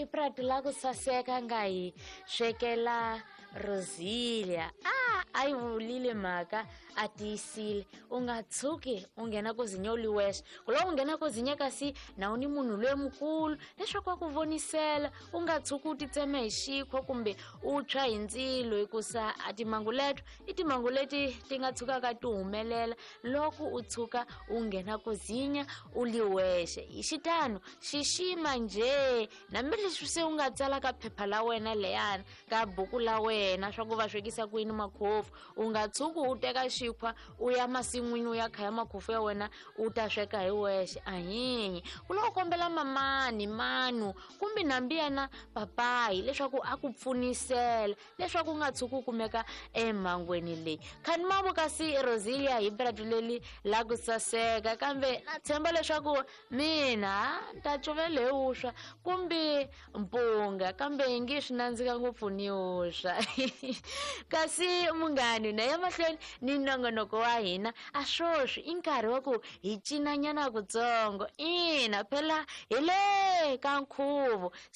I prati la ku saseka nga hi swekela Rosilia. A a yi vulile mhaka, a tiyisile, u nga tshuki u nghena ku zinya u li wexe. Ku loko u nghena ku zinya kasi na u ni munhu loyi mukulu leswaku a ku vonisela, u nga tshuki u titsema hi xikhwa kumbe u tshwa hi ndzilo, hikusa a timhangu leto i timhangu leti ti nga tshukaka ti humelela loko u tshuka u nghena ku zinya u li wexe. Hi xitano xixima njhe, hambileswi se u nga tsala ka phepha la wena leyana, ka buku la wena, swa ku va swekisa ku yini makhofu, u nga tshuki u teka xikhwa u ya masin'wini u ya khaya makhofu ya wena u ta sweka hi wexe. Ahihi, ku loko kombela mamani manu kumbe nambi yena papayi leswaku a ku pfunisela leswaku u nga tshuki u kumeka emhangweni leyi. Khani mavo kasi Rosilia hi bratu leli la ku saseka, kambe na tshemba leswaku mina ni ta cuvela hi vuswa kumbe mpunga, kambe yi nge swi nandzika ngopfu ni vuswa. Kasi munghani, na ya mahlweni ni nongonoko wa hina, a swoswi i nkarhi wa ku hi cinanyana kutsongo. Ina, phela hi le ka nkhuvo.